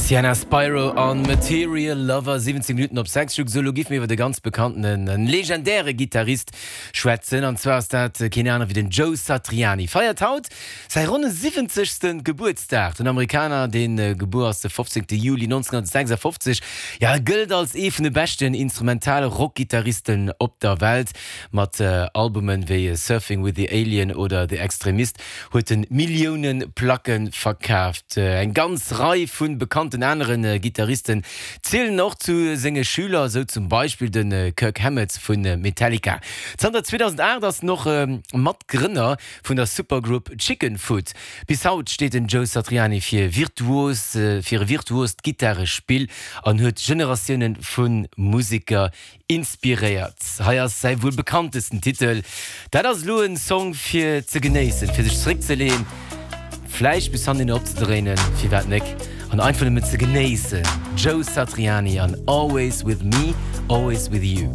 Sienna Spiro an Material Lover, 17 Minutten op 6. Sou, lo giff mir iwwer e ganz bekanntenen, en legendäre Gittarist schwätzen. An zwar ass dat keen aner wéi den Joe Satriani. Feiert haut säi ronne siwwenzegste Gebuertsdag. Den Amerikaner, dee gebuer ass de 15. Juli 1956, jo, e gëllt als ee vun de beschten instrumentale Rockgittaristen op der Welt. Mat Albumen wéi Surfing with the Alien oder The Extremist huet en Millioune Placke verkaaft. Eng ganz Rei vu bekannten anere Gittaristen zielen och zu senge Schüler, esou zum Beispill de Kirk Hammett vu Metallica. Zanter 2008 ass en och Matgrënner vun der Supergroup Chickenfoot. Bis haut steet den Joe Satriani fir virtuos fir e virtuost Gittarespill an huet Generatioune vu Museker Inspiréiert. Hei ass säi wuel bekanntesten Titel. Dat ass elo en Song fir ze genéissen, fir sech zeréckzeleen, vläicht bis hannendeen opzedréinen, firwat nek, an einfach nëmmen ze genéissen. Joe Satriani an Always With Me, Always With You.